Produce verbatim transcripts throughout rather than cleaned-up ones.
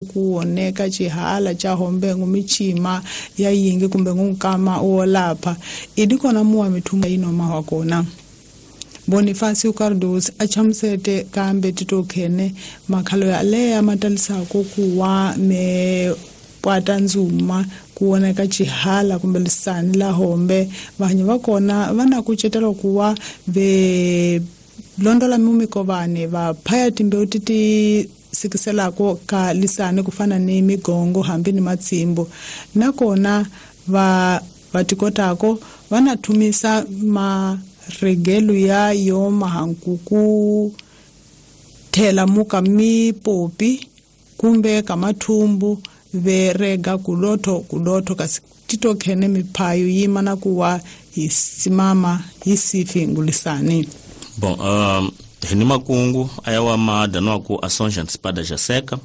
Kuoneka chihala cha hombe ngumichima ya yingi kumbe ngunkama uolapha idikona muwa mithunga inoma wakona. Bonifacio Cardoso achamusete kambe titokhene makhalo ya leya matalisako kuwa me pwata nzuma kuoneka chihala kumbe lisani la hombe vanhu vakona vana kucetela kuwa ve londola mumikovane va phaya timbewu titi sikiselako ka lisani kufana ni migongo hambi ni matsimbo nakona va vatikotako vanathumisa maregelo ya yo mahankuku thela muka mipopi kumbe kamathumbu verega kulotho kulotho kasi titokhene miphayo yima na kuwa yisimama yisifi ngulisani. Bom, um, hini makungu ayawa madano ku ações antecipadas já seca.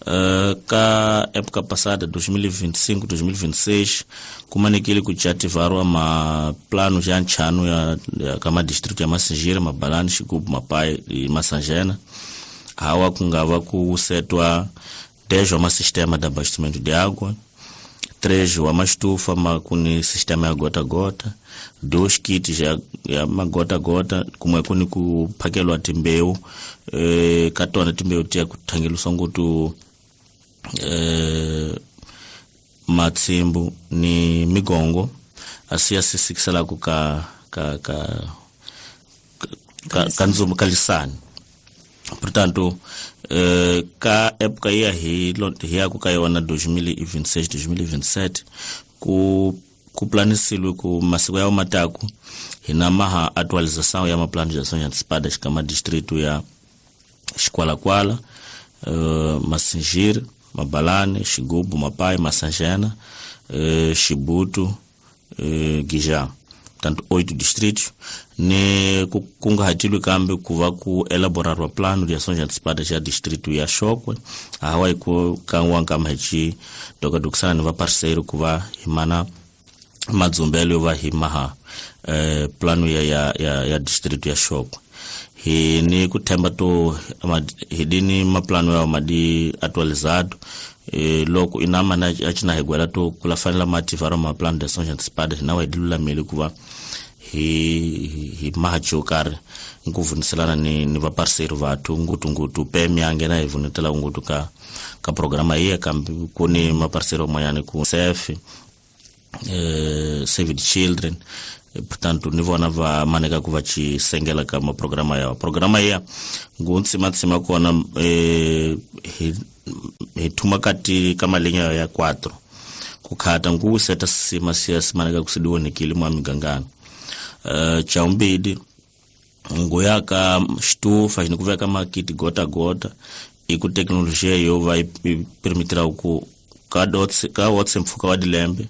Uh, ka época passada dois mil e vinte e cinco, dois mil e vinte e seis kumanekile kuchativarwa ma plano já nchano ya, ya kama distrito ya Massingir, Mabalane, Xigubo, Mapai e Massangena. Hawa kungava kusetwa dez wa sistema de abastecimento de água, três wa mastufa ma kuni sistema ya gota gota, dois kits ya, ya magota gota kumwe kuni kuphakelwa timbeu eh katona timbeu tia kuthangeluswa ngutu eh matsimbu ni migongo asiya sisikisela ku ka ka ka ka kanzumu kalisani. Portanto, eh, ka época ia hi hi ku ka yona dois mil e vinte e seis, dois mil e vinte e sete ku ku planisilwe ku masiku ya mataku hina maha atualização ya maplano de ações antecipadas kama distrito ya Chicualacuala, uh, Massingir, Mabalane, Xigubo, Mapai, Massangena, uh, Chibuto, uh, Guijá. Portanto, oito distritos ne kungahatilwe kambe kuva ku elaborar o plano de ações antecipadas ya distrito ya Chokwe hawa ku kanwa kama hichi toka duksana ni va parceiro kuva himana madzumbelo va himaha eh, plano ya ya ya, ya distrito ya Chokwe hi ni kuthemba to hidini maplano ya madi atualizado e, loko inama na achina hegwela to kula fanela mativaro ma plano de ações antecipadas na waidilula kuva hi hi macho kar nkuvuniselana ni ni va parceiro vathu ngutu ngutu P M yangena hi vunetela ngutu ka ka programa iya kambi kuni ma parceiro manyane ku S F eh, Save the Children. Portanto ni vona va maneka ku va ci sengela ka ma programa ya programa ya nguntsima tsima kona eh hi hi thuma kati ka malinya ya quatro kukhata ngu seta sima siya simaneka kusidiwonekile mwa migangano. Uh, chaumbidi nguya ka stufa ni kuveka makiti gota gota iku teknolojia yo va permitira ku ka dots ka what's mfuka wa dilembe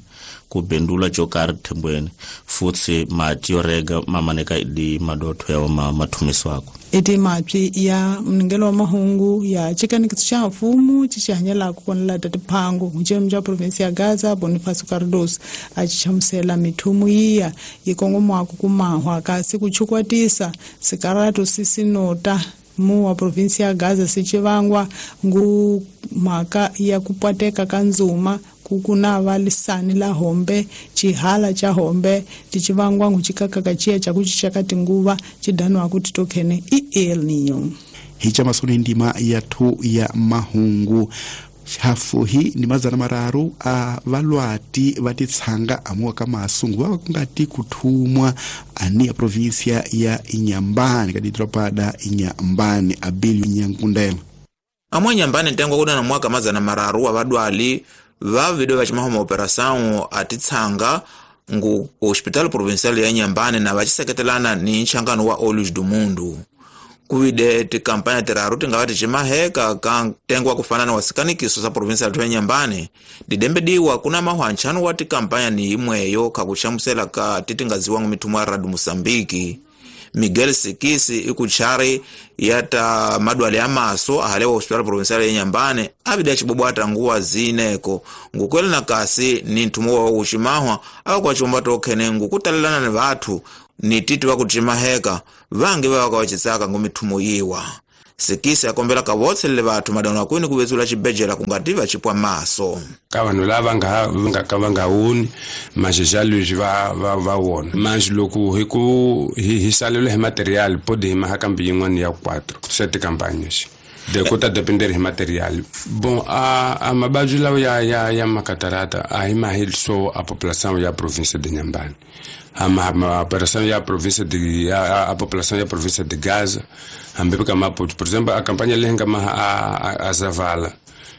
ku bendula chokari thembweni futsi mati yo rega mamaneka di madotho ya ma mathumiswako. Iti mapyi ya mningelo wa mahungu ya chikanikitso xa mfumo xi hanyelaka kona lata tiphangu mucemu xa provinsi ya Gaza Bonifacio Cardoso a xi hlamusela mithumu yiya yi kongomaka ku mahwa kasi ku chukwatisa sikaratu sisinota mu wa provinsi ya Gaza sicivangwa ngu mhaka ya ku pwateka ka nzuma kukunava lisani la hombe chihala cha hombe ticivangwa ngu cikakaka ciya ca kucica ka tinguva cidaniwa ku titokhene i El Niño. Hicha masoni ndima yathu ya mahungu hafu hi ni mazana mararu a valwati va titshanga amuwa ka masungu va kungati kuthumwa ani ya provinsia ya Inhambane ka didropa da Inhambane Abilio Nyankundela. Amwe Inhambane ntengo kuna na mwaka mazana mararu wa vadwali va video va chimahoma operação atitsanga ngu Hospital Provincial ya Inhambane na vachiseketelana ni nchangano wa Olhos do Mundo. Kuvide tikampanya tiraru tingava tichimaheka ka ntengo wa kufanana wa sikanikiso sa provinsia ya Inhambane didembediwa kuna mahwa nchanu wa tikampanya ni imweyo kakuchamusela ka titingaziwa ngu mithumo ya Radio Moçambique. Miguel Sikisi ikuchari yata madwale ya maso ahalewa Hospital Provincial ya Inhambane abida chibobwata nguwa zineko ngukwele na kasi ni nthumo wa uximahwa akwa chomba tokhene ngukutalelana ni vathu ni titi wa kuchimaheka vangi va ka wachitsaka ngu mithumo yiwa. Sekisi akombela ka votselele vathu madano akwini kuvetsula xibejela kungati va chipwa maso. Ka vanhu lava nga nga ka va nga woni maxexa leswi va va va wona manji loko hi ku hi hi salelo hi material podi hi maha kambe yin'wana ya quatro sete campagnes de kota depender hi material bon a a mabaju lawa ya ya ya makatarata a hi mahil so a population ya province de Inhambane a ma operação ya província de a, a população ya província de Gaza hambi ka Maputo por exemplo a campanha leyi nga maha a, a Zavala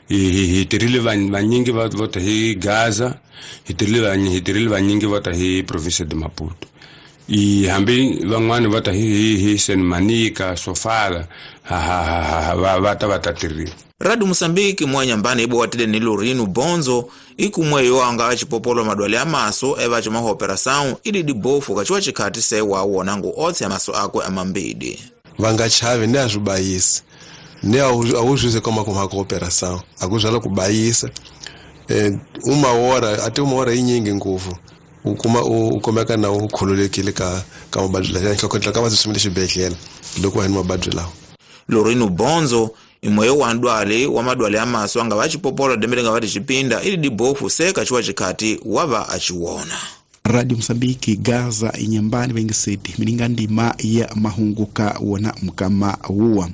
hi hi tirile vanyingi va vota hi Gaza hi tirile vanyingi hi tirile vanyingi vota hi província de Maputo i hambi van'wana vota hi hi Senmanika Sofala ha ha ha va va ta va ta tirile. Radio Mosambiki mwanyambani ibo watile ni Lorino Bonzo ikumwe yo anga achipopolo madwale amaso eva chuma operação ili dibofu kachiwa chikati sewa wonangu otse amaso akwe amambidi vanga chave ne azubayisa ne awuzuze koma kuma operação akuzala kubayisa eh, uma hora até uma hora inyingi nguvu ukuma ukomeka na ukhululekile ka ka mabadula ya ka ka vasumile xibedhlele loko hi mabadula Lorino Bonzo imweyo wandwale wa madwale amaso anga vachipopolo dembele nga vati chipinda ili dibofu seka chiwa chikati wava achiwona. Radio Mosambiki Gaza Inhambane vengiseti mininga ndima ya mahunguka wona mkama uwa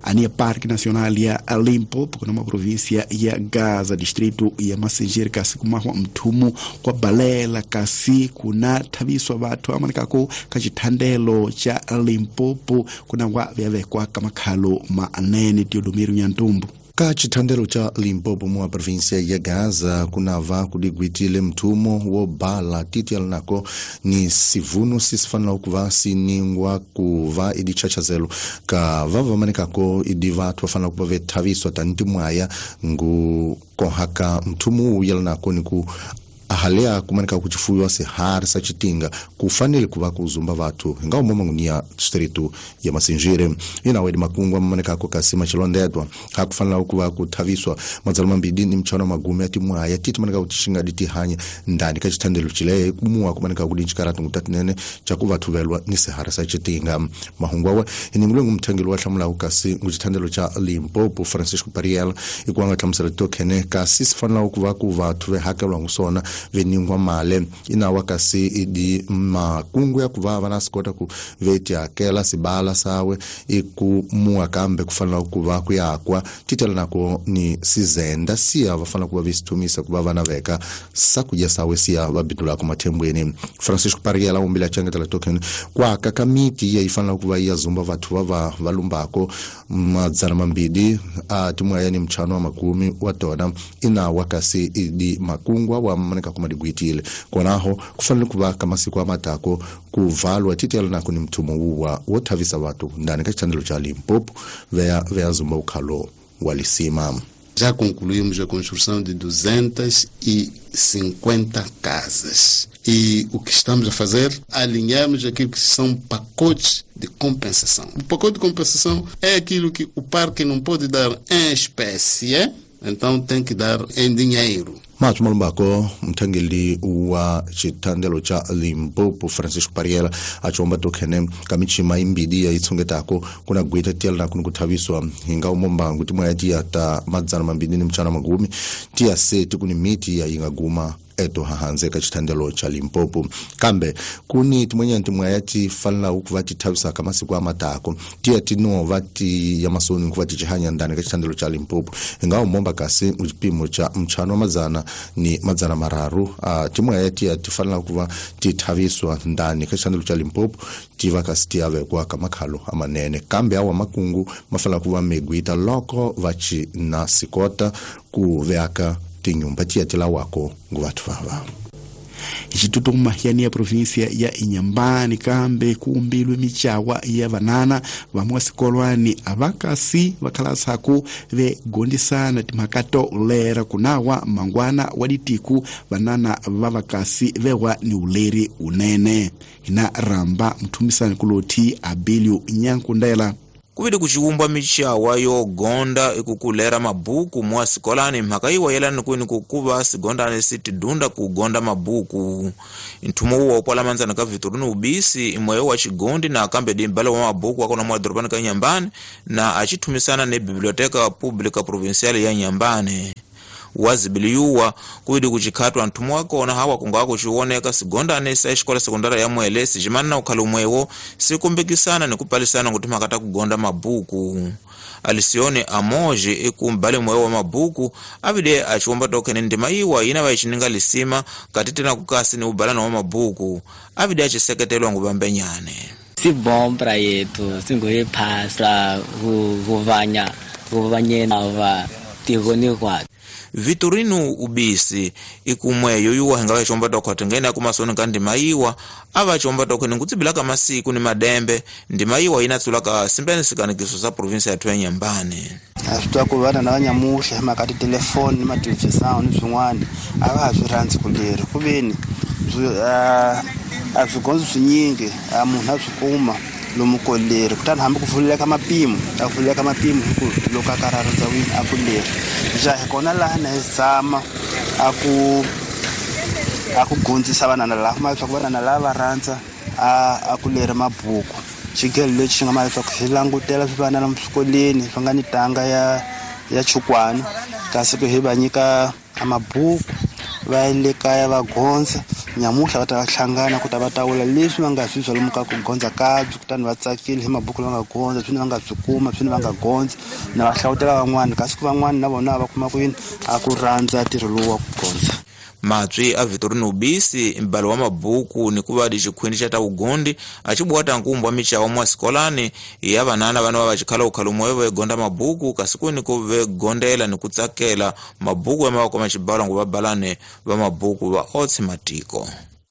ania Parque Nacional ya Limpopo kuna província ya Gaza distrito ya Massingir kasi kumahwa mthumu kwa balela kasi kuna thabiswa batho amanikako ka chithandelo cha Limpopo kuna wa vyavekwa kamakhalo manene Teodomiro Nyantumbu. Ka chithandelo cha Limpopo mwa província ya Gaza kunava kudigwitile mthumo wo bala titi alinako ni sivuno sisifanela ukuva siningwa kuva idi chachazelo ka vavamanikako idi vathu vafanela kuva vethaviswa tanti mwaya ngu kohaka mthumo uyalinako ni ku ahalea kumanika kuchifuyiwa sihari sa chitinga kufanele kuva kuzumba vathu hinga umoma ngunia distrito ya Massingir inawedi makungu amanikako kasi machilondedwa hakufanela kuva kuthaviswa madzalo mambidi ni mchano magumi ati mwaya titi manika kutishinga ditihanya ndani ka chithandelo chile kumuwa kumanika kudinchikaratu ngutatinene chakuvathuvelwa ni sihari sa chitinga mahungu awa iningulwe ngumthangeli wa hlamulaku kasi nguchithandelo cha Limpopo Francisco Pariel ikuanga hlamusela tokhene kasi sifanela kuva ku vathu vehakelwa ngusona veningwa male inawa kasi idi makungu ya kuva vana sikota ku veti akela sibala sawe iku mua kambe kufanela kuva kuyakwa titela nako ni sizenda siya vafanela kuva visithumisa kuva vana veka sakuja sawe siya vabidula ku mathembweni Francisco Pariela umbila changetela token kwaka kamiti ya ifanela kuva iya zumba vathu vava valumbako madzana mambidi a timwaya ni mchano wa makumi wa tona inawa kasi idi makungwa wa manika kumadigwitile konaho kufanele kuva kamasiku amatako kuvalwa titela nako ni mthumo uwa wothavisa vathu ndani ka chithandelo cha Limpopo veya veya zumba ukhalo walisima. Já concluímos a construção de duzentas e cinquenta casas. E o que estamos a fazer? Alinhamos aquilo que são pacotes de compensação. O pacote de compensação é aquilo que o parque não pode dar em espécie, então tem que dar em dinheiro. Mathu malumbako mthangeli wa chithandelo cha Limpopo Francisco Pariela achomba tokhene kamichima imbidi ya itsongetako kuna gwita tiyala na kuni kuthaviswa hinga umombangu timwaya tiya ta madzana mambidi ni mchana magumi tiya seti kuni miti ya ingaguma eto hahanze ka chithandelo cha Limpopo kambe kuni timwenya timwaya ti fanela ukuva tithavisa kamasiku amatako tiya tinova ti ya masoni kuva tichihanya ndani ka chithandelo cha Limpopo inga umomba kasi chipimo cha mchano wa madzana ni madzana mararu uh, timwaya tiya tifanela kuva tithaviswa ndani ka chithandelo cha Limpopo tiva kasi tiyavekwa kamakhalo amanene kambe awa makungu mafanela kuva megwita loko vachi na sikota kuveaka tinyumba tiyatela wako nguvathu vava. Xitutuma yani ya província ya Inhambane kambe kuumbilwe michawa ya vanana vamwe sikolwani avakasi vakhalasaku vegondisana timhaka to lera kunawa mangwana wa ditiku vanana va vakasi vewa ni uleri unene hina ramba mthumisani kuloti Abilio Nyankundela. Kuvili kuciwumbwa michawa yogonda ikukulera mabuku mwa sikolani mhaka iwa yelani kwini kukuva sigondani sitidunda kugonda mabuku. Nthumo uwa upwala manzana ka Vitorino Ubisi imweyo wa chigondi na akambe dimbala wa mabuku akona mwa doropani ka Inhambane na achithumisana ne Biblioteca Pública Provincial ya Inhambane. Wazibiliyuwa kuidi kuchikhatwa nthumo wakona hawa kunga kuchiwoneka sigondane sa escola sekondara ya Mwele sijimana na ukhala umwewo sikumbikisana ni kupalisana kuti makata kugonda mabuku. Alisione amoje ikumbale mwewo wa mabuku avide achiwomba tokene ndima iwa ina vayichininga lisima kati tena kukasi ni ubalana wa mabuku avide achiseketelwa nguvambenyane. Si bom pra yetu singoyiphasa kuvanya kuvanyena va tigoni kwa Vitorino Ubisi ikumweyo yuwa hinga vachomba tokhwatha ngene akumasoni ka ndima iwa avachomba tokhene nkutsibilaka masiku ni madembe ndima iwa inatsulaka simbene sikanikiso sa provinsia yathu ya Inhambane. A swi twa ku vana na vanyamuhla hi mhaka titelefoni ni matelevisão ni swin'wana a va ha swi rhandzi ku leri ku veni a swigondzo swinyingi a munhu a swi kuma lomu koleri kutani hambi ku vuleka mapimo a vuleka mapimo hi ku loko a karhi a rhandza wini a ku leri ja hi kona laha na hi zama a ku a ku gondzisa vanana laha kuma leswaku vanana lava va rhandza a a ku leri mabuku xigelo lexi xi nga ma leswaku xi langutela swi vana lomu swikolweni swi nga ni tanga ya ya chukwana kasi ku hi va nyika mabuku va le kaya va gondza nyamuhla va ta va hlangana ku ta va tawula leswi va nga swi swa lomu ka ku gondza kabyi kutani va tsakile hi mabuku lama nga gondza swini va nga swi kuma swini va nga gondza na va hlawutela van'wana kasi ku van'wana na vona va kuma ku yini a ku rhandza ntirho lowu wa ku gondza. Matswi a Vitorino Ubisi mbalo wa mabuku ni kuva di xikhwini xa ta vugondi acibuwata nkumbwa michawa mwa sikolani ya vanana vana va vachikhala ukhala umweyo vegonda mabuku kasi kwini ku vegondela ni kutsakela mabuku ya mavako ma xibalo ngu vabalane va mabuku va otse matiko.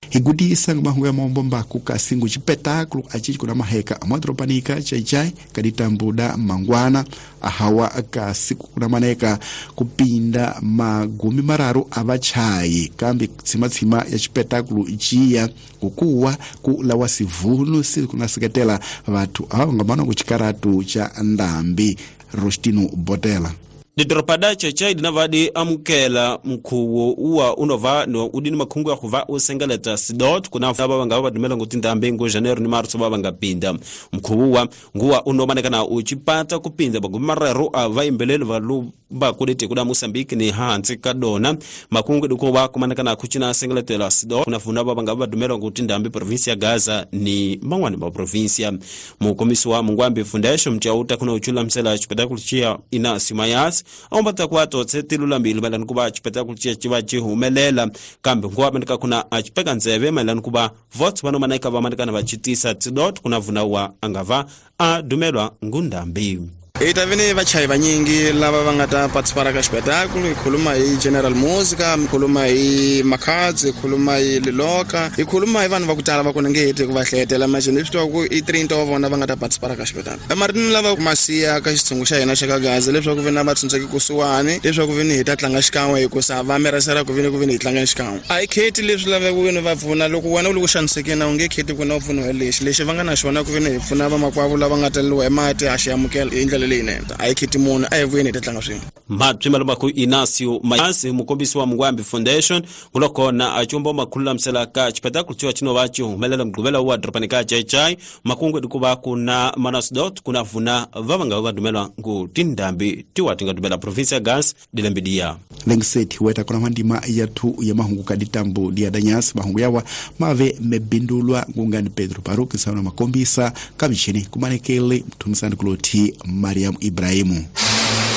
Higudisa mahungu ya maombombaku kasi ngu chipetáculo achichi kuna maheka amwadropanika chaichai kaditambuda mangwana ahawa kasi kuna maneka kupinda magumi mararu avachai kambi tsimatsima ya chipetáculo ichiya kukuwa kulawa sivunu sili kuna seketela vatu awa ngamano kuchikaratu cha ndambi. Rostino Botela. Didoropada chaichai dinavadi amukela mkhuwo uwa unova no udini makhungu ya khuva usengeleta sidot kuna baba banga badumela ngutinda mbengo Janeiro ni Marso baba ngapinda mkhuwo uwa nguwa unomanekana uchipata kupinda bagumi marero avaimbelelo valu bakulete kuda Mozambique ni hansi kadona makungu duko wa kumanekana kuchina sengeletela sidot kuna funa baba ngaba badumela ngutinda mbe provinsia ya Gaza ni mangwani ba provinsia mukomisi wa Mungwambi Foundation mchauta kuna uchula msela chipetakulu chia ina simayas ombata kwato tsetilula mbili malani kuba chipetakulu chia chiba chihumelela kambe ngwa manika kuna achipeka nzeve malani kuba votes vano manaika vamanikana vachitisa tidot kuna vuna wa angava adumelwa ngundambi. Itavene vachai vanyingi lava va nga ta participar ka xipetáculo hi khuluma hi General Musica, hi khuluma hi Makhadzi, hi khuluma hi Liloka, hi khuluma hi vanhu va ku tala va ku ni nge heti ku va hlayetela machini leswi tiva ku i trinta wa vona va nga ta participar ka xipetáculo. Emaritini lava masiya ka xitshungu xa hina xa ka Gaza leswaku vena va tshunxeki kusuhani leswaku veni hi ta tlanga xikan'we hikusa va miresera ku veni ku veni hi tlanga xikan'we. A hi kheti leswi laveka veni va pfuna loko wena u le ku xanisekeni a wu nge kheti ku na u pfuniwa hi lexi lexi va nga na xona ku veni hi pfuna vamakwavo lava nga taleriwa hi mati a xi amukela hi ndlela leyinene. A hi kheti munhu a hi vuyeni hi ta tlanga swin'we. Matswi maku Inacio Mayasi mukombisi wa Mungwambi Foundation kulokona achumba makhululamisela ka chipetáculo chiwa chino vachi humelela mgquvela wa dropani ka chaichai makungu dikuva kuna manasdot kuna vuna vavanga vadumelwa ngu tindambi tiwa tingadumela provinsia ya Gaza dilembidia lengiseti weta kuna mandima yathu ya mahungu kaditambu dia danyasi mahungu yawa mave mebindulwa ngungani Pedro Baruki sauna makombisa kamishini kumanekele mtumisani kuloti Mariam Ibrahimu.